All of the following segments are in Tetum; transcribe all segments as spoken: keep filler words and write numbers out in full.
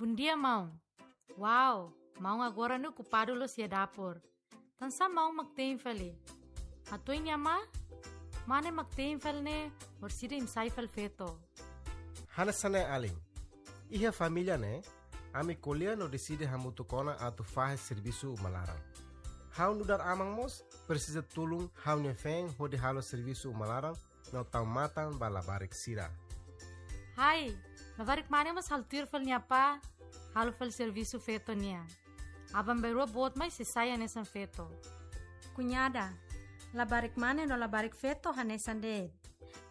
Bondia, maun. Wow, maun agora ne'e okupadu loos iha dapur. Tansá maun mak te'in fali? Hato'o nia mane, mane mak te'in fali ne'e, orsida imi sai fali feto. Hanesan ne'e alin. Iha família ne'e, ami ko'alia no deside hamutuk ona atu fahe servisu uma laran. Ha'u nu'udar aman mós presiza tulun ha'u-nia feen hodi halo servisu uma laran no tau matan ba labarik sira. Hai, labarik mane mós halo tuir fali nia apá, halo fali servisu feto nian. Aban-bainrua boot mai sei sai hanesan feto. Kuñada, labarik mane no labarik feto hanesan de'it.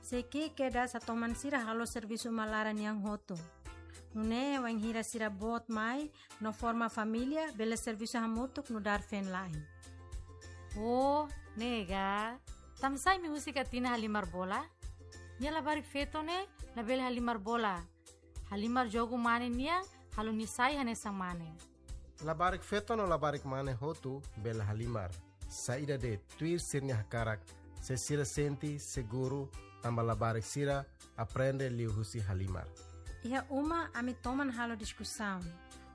Sei ki'ik kedas atu toman sira halo servisu uma laran nian hotu. Nune'e wainhira sira boot mai no forma família, bele servisu hamutuk nu'udar feen-la'en. Oh, ne'e ka. Tansá imi husik Atina halimar bola? Nia labarik feto ne'e labele halimar bola. Halimar jogu mane nian, halo nia sai hanesan mane. Labarik feto no labarik mane hotu bele halimar. Saida de'it, tuir sira-nia hakarak, se sira sente seguru, tanba labarik sira aprende liuhusi halimar. Iha uma ami toman halo diskusaun.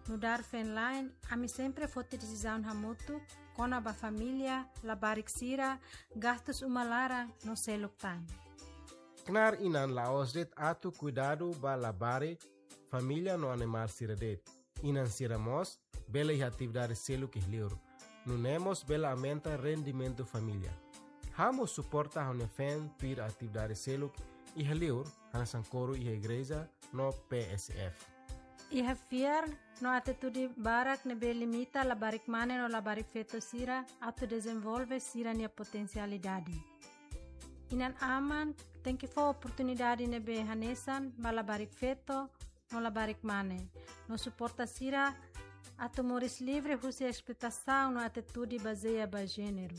Nu'udar feen-la'en, ami sempre foti desizaun hamutuk kona-ba família, labarik sira, gastus uma laran no seluk tan. Knaar inan la'ós de'it atu kuidadu ba labarik, família no animál sira de'it. Inan sira mós bele iha atividade seluk iha liur. Nune'e mós bele aumenta rendimentu família. Ha'u mós suporta ha'u-nia feen tuir atividade seluk iha liur, hanesan koru iha igreja no P S F. Iha fiar no atitude barak ne'ebé limita labarik mane no labarik feto sira atu dezenvolve sira-nia potensialidade. Inan-aman tenke fó oportunidade ne'ebé hanesan ba labarik feto no labarik mane, no suporta sira atu moris livre husi esploitasaun no atitude bazeia ba jéneru.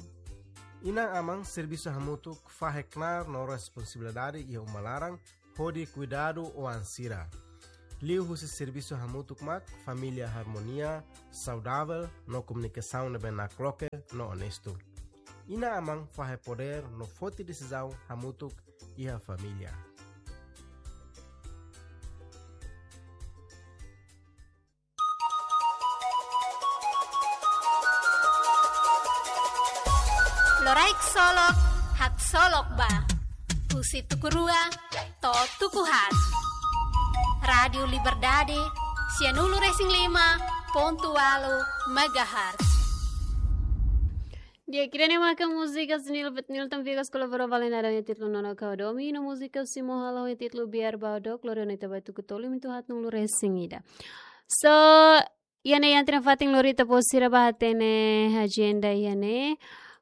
Inan-aman servisu hamutuk fahe knaar no responsabilidade iha uma laran hodi kuidadu oan sira. Liuhusi servisu hamutuk mak família harmonia, saudavel no komunikasaun ne'ebé nakloke no onestu. Inan-aman fahe podér no foti desizaun hamutuk iha família. Loraik solok, haksolok ba. Husi tuku rua to'o tuku haat. Rádiu Liberdade, sianulu resin lima pontu ualu megahertz. Di'ak, ida-ne'e maka múzika Sunil Betnil Tampikas kolabora Valena ho títulu Nona Kau Domi, no múzika Simo Halo ho títulu Biar Baudok, lori ona ita ba tuku tolu minutu haat nulu resin ida. So, iha ne'e iha ita-nia fatin lori ita-boot sira ba hatene agenda iha ne'e.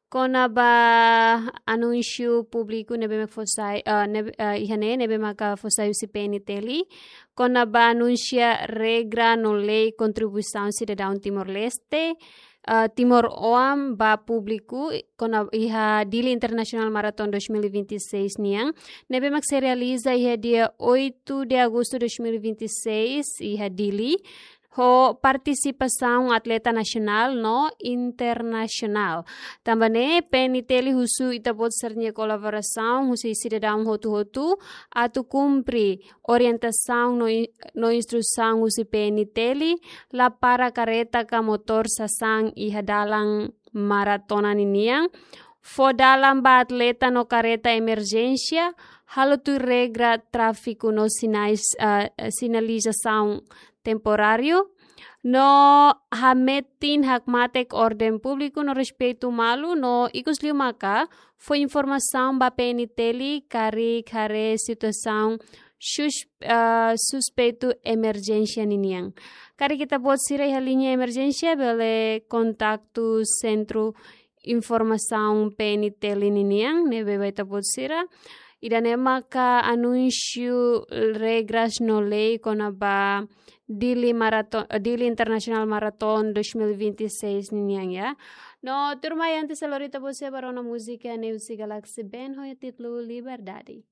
Kona-ba anúnsiu públiku ne'ebé mak fó sai, eh, ne'ebé, eh, iha ne'e, ne'ebé maka fó sai husi P N T L. Kona-ba anunsia regra no lei kontribuisaun sidadaun Timor-Leste, eh, Timor-Oan ba públiku, kona iha Dili International Marathon dois mil e vinte e seis nian. Ne'ebé mak sei realiza iha dia oito de agosto dois mil e vinte e seis, iha Dili. Ho partisipasaun atleta nasionál no internasionál. Tanba ne'e, P N T L husu ita-boot sira-nia kolaborasaun husi sidadaun hotu-hotu atu kumpre orientasaun no in-, no instrusaun husi P N T L, la para kareta ka motór sasán iha dalan maratona ninian, fó dalan ba atleta no kareta emerjénsia, halo tuir regra tráfiku no sinais, eh, sinalizasaun temporáriu, no hametin hakmatek orden públiku no respeitu malu, no ikus liu maka fó informasaun ba P N T L karik haree situasaun sus-, eh, suspeitu emerjénsia ninian. Karik ita-boot sira iha liña emerjénsia, bele kontaktu sentru informasaun P N T L ninian, ne'ebé ba ita-boot sira. Ida-ne'e maka anunsiu regras no lei kona-ba Dili Marathon, eh, Dili International Marathon dois mil e vinte e seis ninian, ya. No tuirmai antes lori ita-boot sira ba rona múzika ne'e husi Galaxy Band ho títulu Liberdade.